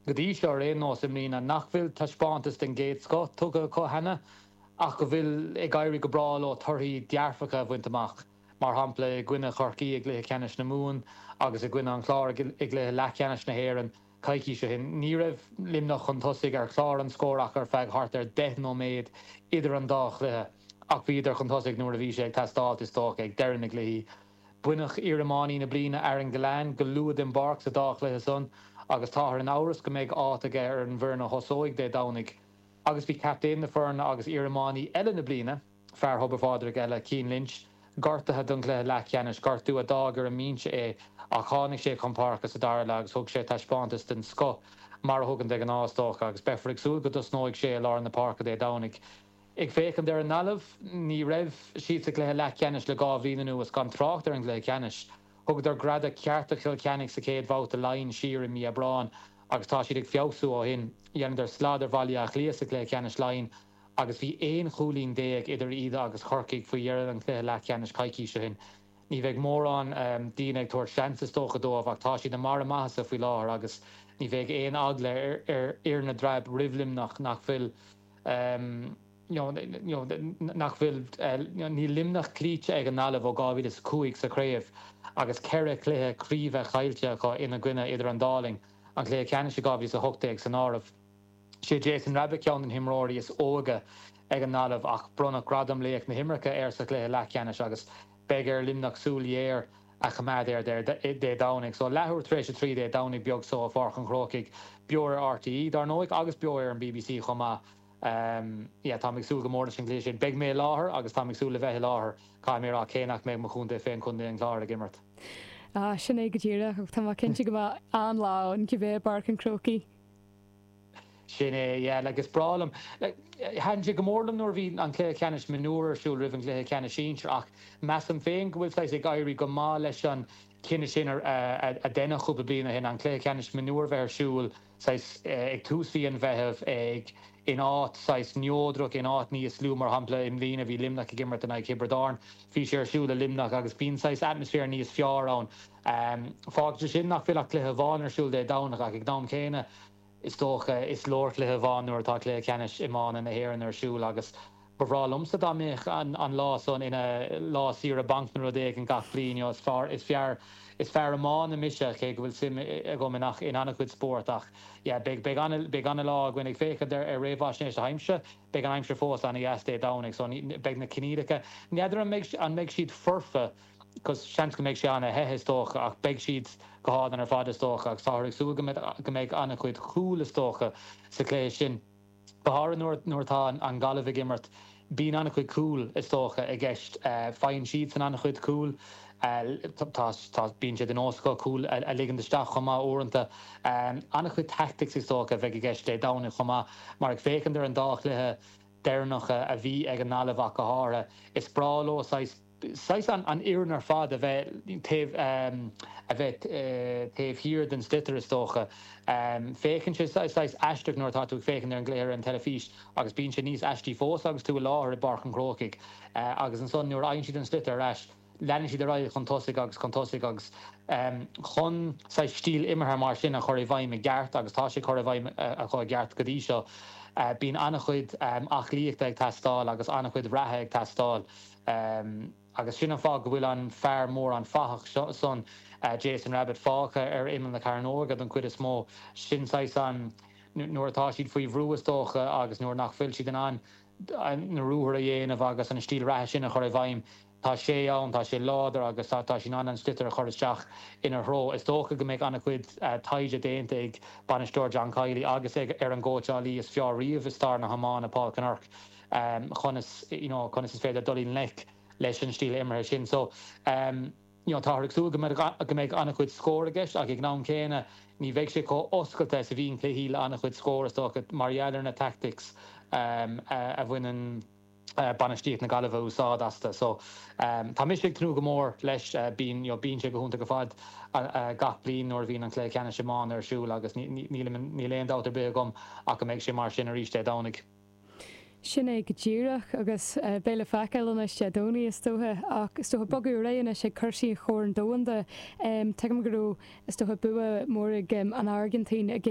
go dtí seo ar aon nós i mbliana, nach bhfuil taispeántas den gcéad scoth tugtha acu cheana ach go bhfuil ag éirí go breá leo torthaí dearfacha a bhaint amach, mar shampla i gcoinne Chorcaí i gcluiche ceannais na Mumhan agus i gcoinne an Chláir i gcluiche leathcheannais na hÉireann coicís ó shin. Ní raibh Luimneach chun tosaigh ar chlár an scóir ach ar feadh thart ar 10 nóiméad idir an dá chluiche ach bhíodar chun tosaigh nuair a bhí sé ag teastáilt, is dócha, ag deireadh na gcluichí. Baineadh iariománaí na bliana, Aaron Gillane, go luath den bpáirc sa dá chluiche san agus táthar in amhras go mbeidh áit aige ar an bhfoireann a thosóidh Dé Domhnaigh. Agus bhí captaen na foirne agus iariománaí eile na bliana, fear Thobar Phádraig eile, Cian Lynch, gortaithe don chluiche leathcheannais, gortú a d'fhág ar an mbinse é ach tháinig sé chun páirce sa dara leath agus thug sé taispeántas den scoth, mar a thugann de ghnáth, is dócha, agus beifear ag súil go dtosnóidh sé i lár na páirce Dé Domhnaigh. Ag féachaint ar an nGaillimh, ní raibh siad sa gcluiche leathcheannais le 2 bhliain anuas, gan trácht ar an gcluiche ceannais. Thugadar greadadh ceart do Chill Chainnigh sa chéad bhabhta Laighean siar i mí Aibreáin agus tá siad ag feabhsú ó shin. Dheineadar slad ar Bhaile Átha Cliath sa chluiche ceannais Laighean agus bhí 11 chúilín idir iad agus Corcaigh faoi dheireadh an chluiche leathcheannais coicís ó shin. Ní bheidh mórán daoine ag tabhairt seans is dócha dóibh ach tá siad i mbarr a maitheasa faoi láthair agus ní bheidh aon eagla ar fhir na dTreab roimh Luimneach nach bhfuil nach bhfuil, níl Luimneach cloíte ag an nGaillimh ó 2005 sa chraobh agus 4 chluiche craoibhe caillte acu ina gcoinne idir an dá linn, an cluiche ceannais i 2018 san áireamh. Sé Jason Rabbitte ceann de na himreoirí is óige ag an nGaillimh ach bronnadh gradam Laoch na hImeartha air sa chluiche leathcheannais agus beidh ar Luimneach súil ghéar a choimeád air Dé Domhnaigh. So, leathuair tar éis a 3 Dé Domhnaigh beag so i bPáirc an Chrócaigh, beo ar RTÉ, dar ndóigh, agus beo ar an bbc chomh maith. Yeah, táim ag súil go mór leis an gcluiche sin. Beidh mé i láthair agus táim ag súil le bheith i láthair, caithfidh mé a rá, cé nach mbeidh mo chontae féin, Contae an Chláir, ag imirt. Ah, sin é go díreach, ach tá mé cinnte go mbeidh an-lá ann cibé i bPáirc an Chrócaigh. Sin é, yeah, like is breá liom, like, thaitin sé go mór liom nuair a bhí an cluiche ceannais mionúr ar siúl roimh an gcluiche ceannais sinsir ach measaim féin go bhfuil saghas ag éirí go maith leis an cinneadh sin a a deineadh cúpla bliain ó shin, an cluiche ceannais mionúr a bheith ar siúl saghas ag tús mhí an Mheithimh ag in áit saghas neodrach, in áit níos lú, mar shampla i mbliana bhí Luimneach ag imirt in aghaidh Thiobraid Árann, bhí sé ar siúl i Luimneach agus bíonn saghas atmaisféar níos fearr ann. Fágann sé sin nach bhfuil ach cluiche amháin ar siúl Dé Domhnaigh ach ag an am céanna, Is dócha, is leor cluiche amháin nuair atá cluiche ceannais iomána na hÉireann ar siúl agus ba bhreá liomsa dá mbeadh an lá san ina lá saoire bainc nó rud éigin gach bliain. You know, is fearr, is fearr, is fear iomána mise, cé go bhfuil suim agam in in an-chuid spórt ach yeah, beidh, beidh ana, beidh ana-lá againn ag féachaint ar ar réamhaisnéis na haimsire. Beidh an aimsir fós ana-dheas Dé Domhnaigh so ní, beidh na coinníollacha, n'fheadar an mbeidh, an mbeidh siad foirfe 'cause seans go mbeidh sé ana-the is dócha ach beidh siad go hálainn ar fad is dócha agus táthar ag súil go mbeidh go mbeidh an-chuid cúl is dócha sa chluiche sin. Go háirithe nuair nuair atá an Ghaillimh ag imirt bíonn an-chuid cúl is dócha i gceist. Faigheann siadsan an-chuid cúl. Tá tá bíonn sé de nós acu cúl a a ligint isteach chomh maith uaireanta. An-chuid tactics is dócha a bheidh i gceist Dé Domhnaigh chomh maith mar ag féachaint ar an dá chluiche deireanacha a bhí ag an nGaillimh ach go háirithe is breá leo saghas saghas an fhoireann ar fad a bheith taobh a bheith taobh thiar den sliotar is dócha. Féachann sé saghas aisteach nuair atá tú ag féachaint ar an gcluiche ar an teilifís agus bíonn sé níos aistí fós agus tú i láthair i bPáirc an Chrócaigh agus ansan nuair a fhaigheann siad an sliotar ar ais leanann siad ar aghaidh chun tosaigh agus chun tosaigh agus chun saghas stíl imeartha mar sin a chur i bhfeidhm i gceart agus tá sé curtha i bhfeidhm acu i gceart go dtí seo bíonn an-chuid aclaíochta ag teastáil agus an-chuid reatha ag teastáil. Agus sin an fáth go bhfuil an fear mór, an fathach seo san, Jason Rabbitte, fágtha ar imeall na cearnóige don chuid is mó. Sin saghas an, nuair atá siad faoi bhrú is dócha agus nuair nach bhfuil siad in ann na ruathair a dhéanamh agus an stíl reatha sin a chur i bhfeidhm, tá sé ann, tá sé láidir agus tá sé in ann an sliotar a chur isteach ina threo. Is dócha go mbeidh an-chuid taighde déanta ag bainisteoir John Kiely agus ag ar an gcóitseálaí is fearr riamh i stair na hiomána, Paul Kinnerk, conas you know conas is féidir dul i ngleic leis an stíl imeartha sin. So you know táthar ag súil go mbeidh go mbeidh an-chuid scór i gceist ach ag an am céanna ní bheidh sé chomh oscailte is a bhíonn cluichí le an-chuid scór is dócha mar gheall ar na tactics a bhaineann bainistíocht na Gaillimhe úsáid astu. So tá mise ag tnúth go mór leis. Bíonn you know bíonn sé go hiontach ar fad gach bliain nuair a bhíonn an cluiche ceannais iomána ar siúl agus níl níl aon dabht ar bith agam ach go mbeidh sé mar sin arís Dé Domhnaigh. Sin é go díreach, agus beidh le feiceáil anois Dé Domhnaigh is dócha, ach is dócha bogadh ar aghaidh anois ag cúrsaí Chorn Domhanda. Tuigim go raibh, is dócha, bua mór ag an Airgintín i gcoinne.